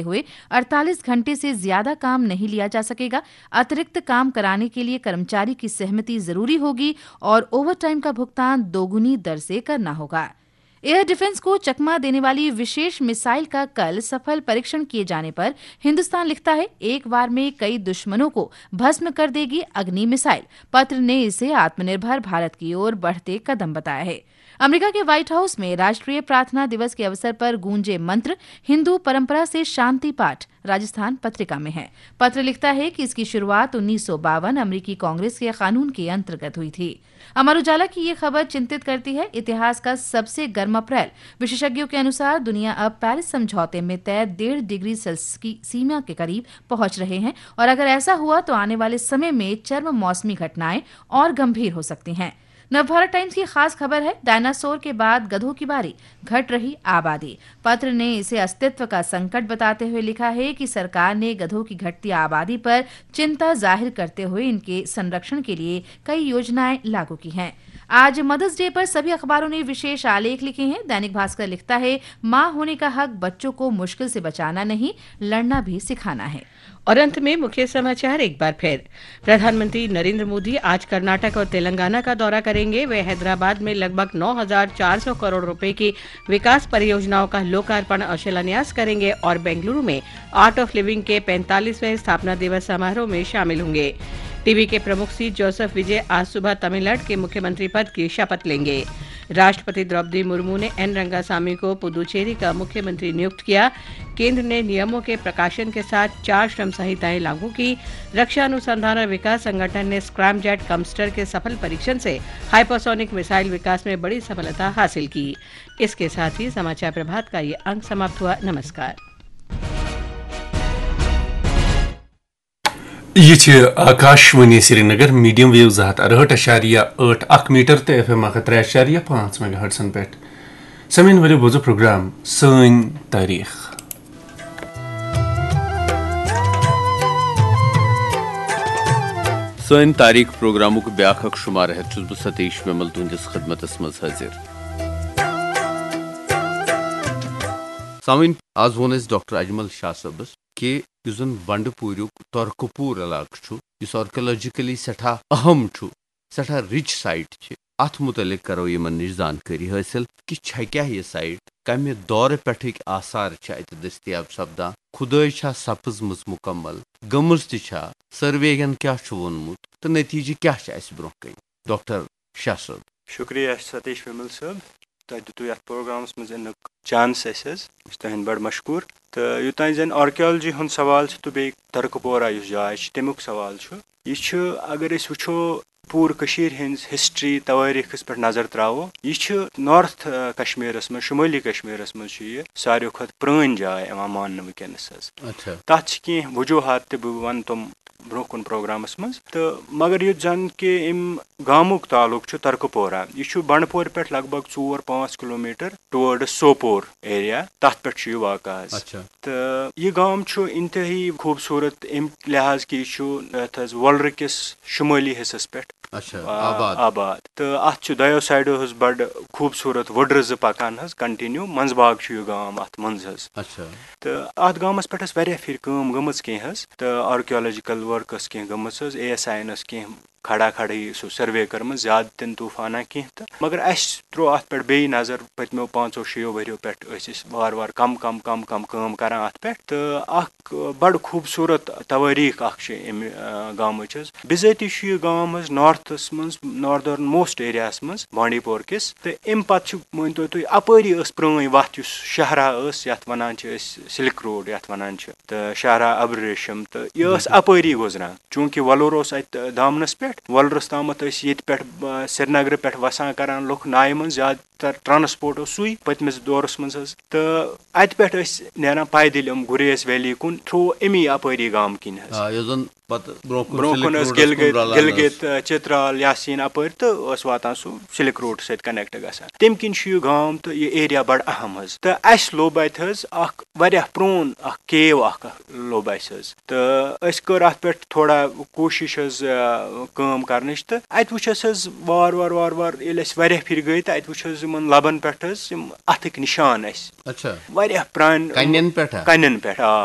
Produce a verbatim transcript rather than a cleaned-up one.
हुए अड़तालीस घंटे से ज्यादा काम नहीं लिया जा सकेगा। अतिरिक्त काम कराने के लिए कर्मचारी की सहमति जरूरी होगी और ओवरटाइम का भुगतान दोगुनी दर से करना होगा। एयर डिफेंस को चकमा देने वाली विशेष मिसाइल का कल सफल परीक्षण किए जाने पर हिंदुस्तान लिखता है, एक बार में कई दुश्मनों को भस्म कर देगी अग्नि मिसाइल। पत्र ने इसे आत्मनिर्भर भारत की ओर बढ़ते कदम बताया है। अमेरिका के व्हाइट हाउस में राष्ट्रीय प्रार्थना दिवस के अवसर पर गूंजे मंत्र, हिंदू परंपरा से शांति पाठ। राजस्थान पत्रिका में है। पत्र लिखता है कि इसकी शुरुआत उन्नीस सौ बावन अमेरिकी कांग्रेस के कानून के अंतर्गत हुई थी। अमर उजाला की ये खबर चिंतित करती है। इतिहास का सबसे गर्म अप्रैल। विशेषज्ञों के अनुसार दुनिया अब पेरिस समझौते में तय डेढ़ डिग्री सेल्सियस की सीमा के करीब पहुंच रहे हैं और अगर ऐसा हुआ तो आने वाले समय में चरम मौसमी घटनाएं और गंभीर हो सकती हैं। नवभारत टाइम्स की खास खबर है, डायनासोर के बाद गधों की बारी, घट रही आबादी। पत्र ने इसे अस्तित्व का संकट बताते हुए लिखा है कि सरकार ने गधों की घटती आबादी पर चिंता जाहिर करते हुए इनके संरक्षण के लिए कई योजनाएं लागू की हैं। आज मदर्स डे पर सभी अखबारों ने विशेष आलेख लिखे हैं। दैनिक भास्कर लिखता है, माँ होने का हक बच्चों को मुश्किल से बचाना नहीं, लड़ना भी सिखाना है। और अंत में मुख्य समाचार एक बार फिर। प्रधानमंत्री नरेंद्र मोदी आज कर्नाटक और तेलंगाना का दौरा करेंगे। वे हैदराबाद में लगभग नौ हज़ार चार सौ करोड़ रुपए की विकास परियोजनाओं का लोकार्पण और शिलान्यास करेंगे और बेंगलुरु में आर्ट ऑफ लिविंग के पैंतालीसवें स्थापना दिवस समारोह में शामिल होंगे। टीवी के प्रमुख सी जोसेफ विजय आज सुबह तमिलनाडु के मुख्यमंत्री पद की शपथ लेंगे। राष्ट्रपति द्रौपदी मुर्मू ने एन रंगासामी को पुदुचेरी का मुख्यमंत्री नियुक्त किया। केंद्र ने नियमों के प्रकाशन के साथ चार श्रम संहिताएं लागू की। रक्षा अनुसंधान और विकास संगठन ने स्क्रैमजेट कमस्टर के सफल परीक्षण से हाइपरसोनिक मिसाइल विकास में बड़ी सफलता हासिल की। इसके साथ ही समाचार प्रभात का ये अंक समाप्त हुआ। नमस्कार। یہ چھِ آکاشوانی سرینگر، میڈیم ویو زٕ ہتھ ارہٲٹھ اَشاریہ ٲٹھ اکھ میٹر تہٕ ایف ایم اکھ ہتھ ترٛےٚ اَشاریہ پانٛژھ میگا ہرٹزن پٮ۪ٹھ۔ سامعیٖن، ؤلِو بوزو پروگرام سٲنۍ تٲریٖخ۔ سٲنۍ تاریخ پروگرامُک بیاکھ اکھ شمارٕ ہٮ۪تھ چھُس بہٕ ستیش ومل تُہنٛدِس خدمتس منٛز حٲضِر۔ سامعیٖن، آز ووٚن اَسہِ ڈاکٹر اجمل شاہ صٲبس کہِ یُس زن بنڈٕ پوٗریُک ترکہٕ پوٗر علاقہٕ چھُ، یُس آرکیولوجیکلی سٮ۪ٹھاہ اہم چھُ، سٮ۪ٹھاہ رِچ سایٹ چھِ، اتھ مُتعلق کرو یِمن نِش زانکٲری حٲصِل کہِ چھےٚ کیاہ یہِ سایٹ، کمہِ دورٕ پٮ۪ٹھٕکۍ آثار چھِ اتہِ دٔستیاب سپدان، کھُدٲے چھا سپٕزمٕژ مُکمل، گٔمٕژ تہِ چھا، سروے ین کیاہ چھُ ووٚنمُت تہٕ نتیجہٕ کیاہ چھِ اسہِ برونٛہہ کنہِ۔ ڈاکٹر شاہ صٲب۔ شُکریہ ستیش وِمل صٲب، تۄہہِ دیُتوُ یتھ پروگرامس منٛز یِنُک چانس اسہِ حظ۔ أسۍ چھِ تُہٕنٛدۍ بڑٕ مشکوٗر۔ تہٕ یوٚتام زن آرکیالجی ہُنٛد سوال چھُ تہٕ بیٚیہِ ترکہٕ پورہ یُس جاے چھِ، تمیُک سوال چھُ، یہِ چھُ، اگر أسۍ وٕچھو، پوٗرٕ کٔشیٖرِ ہٕنٛز ہسٹری، توٲریٖخس پٮ۪ٹھ نظر تراوو، یہِ چھُ نارتھ، آ، کشمیرس منٛز، شمٲلی کشمیرس منٛز چھُ یہِ ساروی کھۄتہٕ پرٛٲنۍ جاے یِوان ماننہٕ وٕنکیٚنس حظ۔ اچھا۔ تتھ چھِ کینٛہہ وجوہات تہِ، بہٕ ونہٕ تِم برونٛہہ کُن پروگرامس منٛز۔ تہٕ مگر یُتھ زن کہِ امہِ گامُک تعلق چھُ ترکہٕ پورہ، یہِ چھُ بنڈپورِ پٮ۪ٹھ لگ بگ ژور پانٛژھ کلومیٹر ٹُوٲرڈس سوپور ایریا، تتھ پٮ۪ٹھ چھُ یہِ واقع حظ۔ اچھا۔ تہٕ یہِ گام چھُ انتہٲیی خوٗبصوٗرت امہِ لحاظ کہِ یہِ چھُ یتھ حظ وۄلرٕ کِس شُمٲلی حصس پٮ۪ٹھ، اچھا، آ، آباد۔ آباد۔ تہٕ اتھ چھُ دۄیو سایڈو حظ بڑٕ خوٗبصوٗرت وُڈرٕ زٕ پکان حظ، کنٹینیو منٛزباگ چھُ یہِ گام اتھ منٛز حظ۔ اچھا۔ تہٕ اتھ گامس پٮ۪ٹھ ٲس واریاہ پھِرِ کٲم گٔمٕژ کینٛہہ حظ، تہٕ آرکیولوجیکل ورک ٲس کینٛہہ گٔمٕژ حظ، اے ایس آی یَن ٲس کینٛہہ کھڑا کھڑٲیی سُہ سروے کٔرمٕژ، زیادٕ تہِ نہٕ طوٗفانہ کینٛہہ تہٕ، مگر اَسہِ ترٛوو اَتھ پٮ۪ٹھ بیٚیہِ نظر۔ پٔتمیو پانٛژو شیٚیو ؤریو پٮ۪ٹھ ٲسۍ أسۍ وارٕ وارٕ کم کم کم کم کٲم کران اَتھ پٮ۪ٹھ، تہٕ اکھ بڑٕ خوٗبصوٗرت توٲریٖخ اکھ چھِ اَمہِ، آ، گامٕچ حظ۔ بِذٲتی چھُ یہِ گام حظ نارتھس منٛز، ناردرن موسٹ ایریاہس منٛز بانڈی پور کِس، تہٕ اَمہِ پتہٕ چھُ، مٲنۍ تو تُہۍ، اپٲری ٲس پرٛٲنۍ وَتھ، یُس شاہراہ ٲس، یَتھ وَنان چھِ أسۍ سِلک روڈ، یَتھ وَنان چھِ، تہٕ شاہراہ ابرریشم، تہٕ یہِ ٲس بِلکُل۔ اپٲری گُزران۔ چوٗنٛکہِ وۄلُر اوس اَتہِ دامنَس پٮ۪ٹھ، وۄلرَس تامَتھ ٲسۍ ییٚتہِ پٮ۪ٹھ، آ، سرینگرٕ پٮ۪ٹھ وَسان کَران لُکھ نایہِ منٛز، زیادٕ تر ٹرانسپورٹ اوس سُے پٔتمِس دورَس منٛز حظ۔ تہٕ اَتہِ پٮ۪ٹھ ٲسۍ نیران پیدٔلۍ یِم گُریز ویلی کُن، تھرٛوٗ اَمی اَپٲری گامہٕ کِنۍ حظ۔ آ، یُس زَن پَتہٕ برونٛہہ کُن برونٛہہ سِلک کُن ٲس روڈَس کُن گِلگِت، رَلان گِلگِت، ٲس۔ آ، چترال، یاسین اَپٲرۍ تہٕ ٲس واتان سُہ سِلک روڈ سۭتۍ کنیکٹ گژھان۔ تَمہِ کِنۍ چھُ یہِ گام تہٕ یہِ ایریا بڑٕ اہم حظ۔ تہٕ اَسہِ لوٚب اَتہِ حظ اکھ واریاہ پرٛون اکھ کیو اکھ لوٚب اَسہِ حظ۔ تہٕ أسۍ کٔر اَتھ پٮ۪ٹھ تھوڑا کوٗشِش حظ، آ، کٲم کرنٕچ۔ تہٕ اتہِ وٕچھ اسہِ حظ وار وار وار وار، ییٚلہِ أسۍ واریاہ پھرِ گٔے، تہٕ اتہِ وٕچھ حظ یِمن لبن پٮ۪ٹھ حظ یِم اتھٕکۍ نشان اسہِ۔ اچھا۔ واریاہ پرانہِ کنٮ۪ن پٮ۪ٹھا؟ کنٮ۪ن پٮ۪ٹھ، آ۔